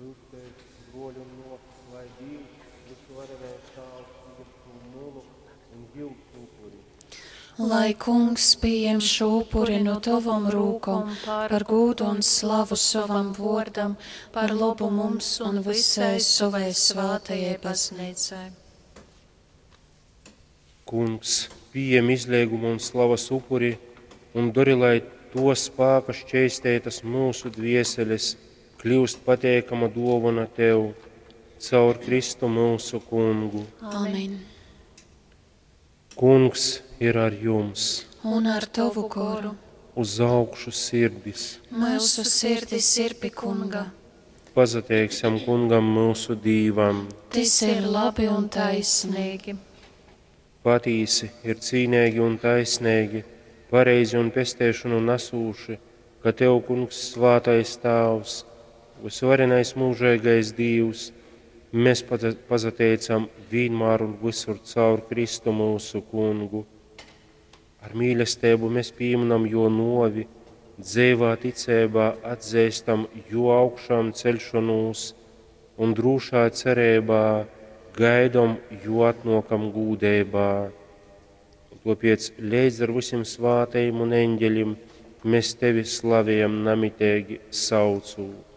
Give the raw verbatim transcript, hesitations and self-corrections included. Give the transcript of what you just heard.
Lyugtēs, bruoļi un muosys, lai Dīvs, Vysuvarenais Tāvs, pījem šū munu un jyusu upuri. Lai Kungs pieņem šo upuri no tavom rūkom par gūdu un slavu sovam vōrdam, par lobu mums un visai savai svātajai baznīcai. Kungs, pījem izleiguma un slavas upuri un dori, lai to spāka šķeisteitas myusu dvieseles kļūst pateikama dōvona Tev, caur Kristu myusu Kungu. Amen. Kungs ir ar jums. Un ar tavu goru. Uz augšu sirdis. Mūsu sirdis ir pie Kunga. Pasateiksim Kungam myusu Dīvam. Tas ir labi un taisnīgi. Patīsi ir cīnīgi un taisnīgi, pareizi un pesteišanu nesūši, ka Tev, Kungs, svātais Tāvs, vysvarenais mūžīgais Dīvs, mēs pasateicam vienmēr un visur caur Kristu mūsu Kungu. Ar mīlestību mēs pieminam jo novi, dzeivā ticībā atzīstam jo augšām celšanos un drūšā cerībā gaidom jo atnokam gūdeibā. Tāpēc līdz ar visiem svātajiem un eņģeļiem mēs tevi slavējam namitīgi saucot.